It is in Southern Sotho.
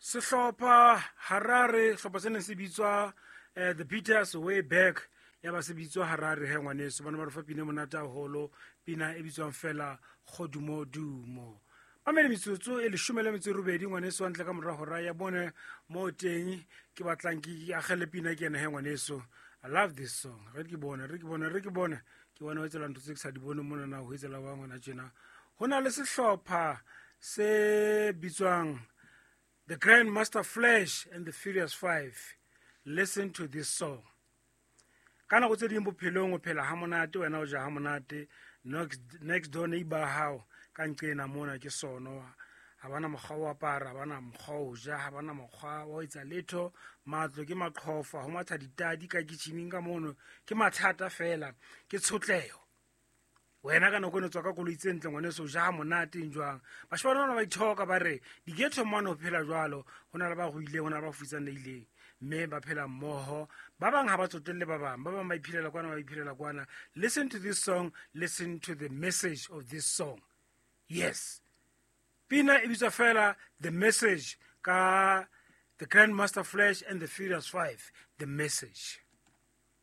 Sehlopha Harare, sehlopha se neng se bitswa The Beaters way back, ya ba se bitswa Harare he ngwaneso. Bana ba re fa pina e monate haholo, pina e bitswang fela Kgodumodumo. Mamele metsotso e 18 ngwaneso, hantle ka mora hora ya bone mo teng ke batlang ke agele pina ke ena he ngwaneso. I love this song. Re ke bone, re ke bone, re ke bone. Ke bona ho etsela ntho tse ke sa di bone mona na ho etsela wa ngwana tjena. Ho na le sehlopha se bitswang The Grandmaster Flash and the Furious Five. Listen to this song. Ka nako tse ding bophelong o phela ha monate, wena o ja ha monate, next door neighbor hao ka nqena mona ke sono, ha bana mokgwa wa apara, ha bana mokgwa o ja, ha bana mokgwa wa ho etsa letho, matlo ke maqhofa, ho matha ditadi ka kitchening ka mono, ke mathata fela, ke tshotleho. Wena ka nako eno tswa ka koloi tse ntle ngwaneso, o ja monate eng jwang. Bashemane bana ba ithoka ba re di-ghetto mane ho phela jwalo, ho na le ba ruileng, ho na le ba futsanehileng, mme ba phela mmoho. Ba bang ha ba tsotelle ba bang, ba bang ba iphelela kwana, ba iphelela kwana. Listen to this song, listen to the message of this song. Yes, pina e bitswa fela The Message ka The Grandmaster Flash and the Furious Five. The Message.